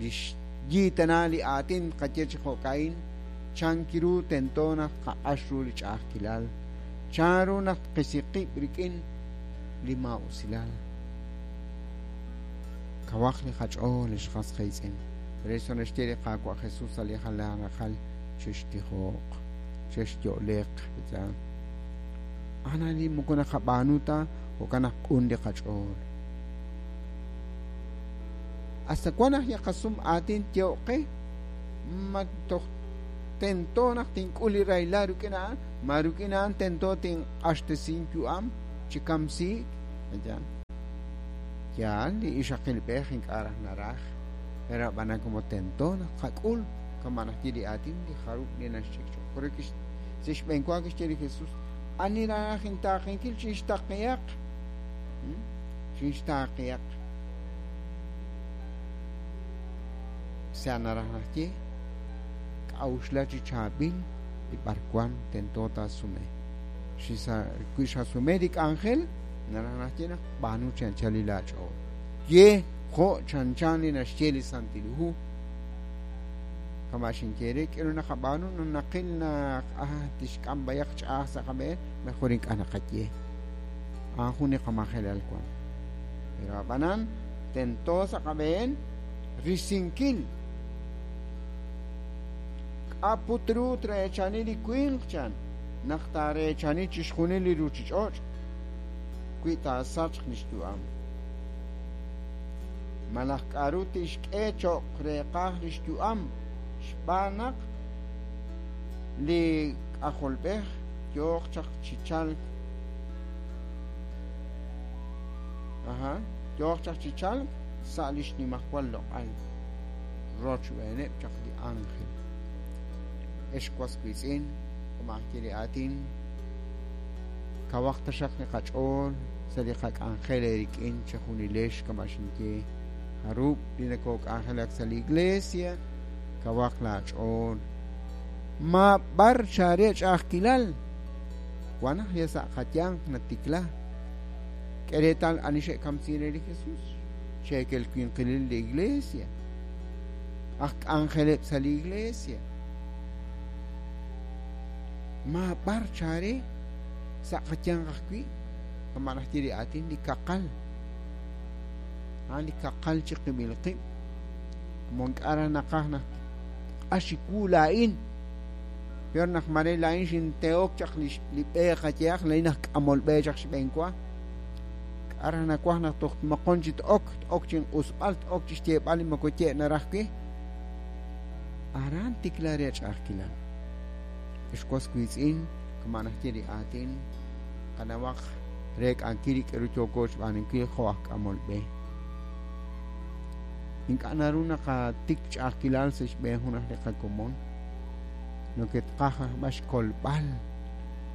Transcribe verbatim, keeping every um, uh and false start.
Lix yiitana li aatin qaye chi jo'ka'in chan kiru tento naq qaq'ax ru li ch'a'ajkilal chan ru naq qisi qib' rik'in li maa'usilal kawaq li qach'ool li xqas qiitz'in. Por eso naxye li Qaawa' Jesús sa' li jalan raqal chextijooq chexyo'leq ana li moko naqab'aanu ta jo'kan naq q'un li qach'ool. Hasta cuándo li qasum aatin tyo'qe ma toj tento naq tink'ul li rahilal rik'in a'an ma rik'in a'an tento tinq'axtesin yu'am chi kamsiik yaal li ixaqilb'ej ink'a' raj naraj pero ab'anan como tento naq qak'ul kama naxye li aatin li jarub' li naxch'ik choq porque sa' xb'een wa kixye li Jesús ani raj intaaqenkil chixtaqihaq chixtaqihaq sa' naraj naxye k'a'uxla chi chaab'il li b'arwan tento taasume wi xasume li k'anjel naraj naxye naq b'aanu chi anchal li laach'ool ye jo' chanchan li naxye li Santil Hu kama xinye re k'eru naqab'aanu naqil naq ah tixk'am b'ayaq ch'a'aj sa' qab'een mejor ink'a' naqaye a'an jun li qamajelal wan pero ab'anan tento sa' qab'een risinkil k'aput ru treechani li winq chan naq taareechani chixjunil li ruuchich'och' wi taasachq li xyu'am malaj k'aru tixk'e cho'q reeqaj li xyu'am xb'aan naq li k'ajolb'ej yooq chaq chi chalk aja yooq chaq chi chalk sa' li xnimajwal loq'al rochb'eeneb' chaq li ángel ex was wiitz'in kama li aatin kawaq taxaq li qach'ool sa' li qak'anjel rik'in chixjunilex kama xinye jarub' li nakok'anjelak sa' li iglesia kawaq laach'ool ma b'ar xare ch'a'ajkilal wan naq ya sa' qayanq natikla k'e reetal ani xe'kamsin re li Jesús cheekel winqilil li iglesia aj k'anjeleb' sa' li iglesia ma b'ar chare sa' qayanq ajwi' kama naxye li aatin li kaqal a'an li kaqal chi qib'il qib' como ink'a' raj naqaj naq q'axiku laa'in peor naq mare laa'in xinteok chaq li li b'e qayehaq laa'in aj k'amol b'e chaq xb'een wa k'a' raj nawaj naq toj moqon chi t'ok t'ok chinq'usb'al t'ok chi xyeeb'al li moko ye' naraj wi aran tikla re ch'a'ajkilal ex was wiitz'in kama naxye li aatin qanawaq re k'ankil li k'aru yooko xb'aanunkil jo' aj k'amol b'e ink'a' naru naqatik ch'a'ajkilal sa' xb'een jun aj li qakomon noketqaj aj b'an xkolb'al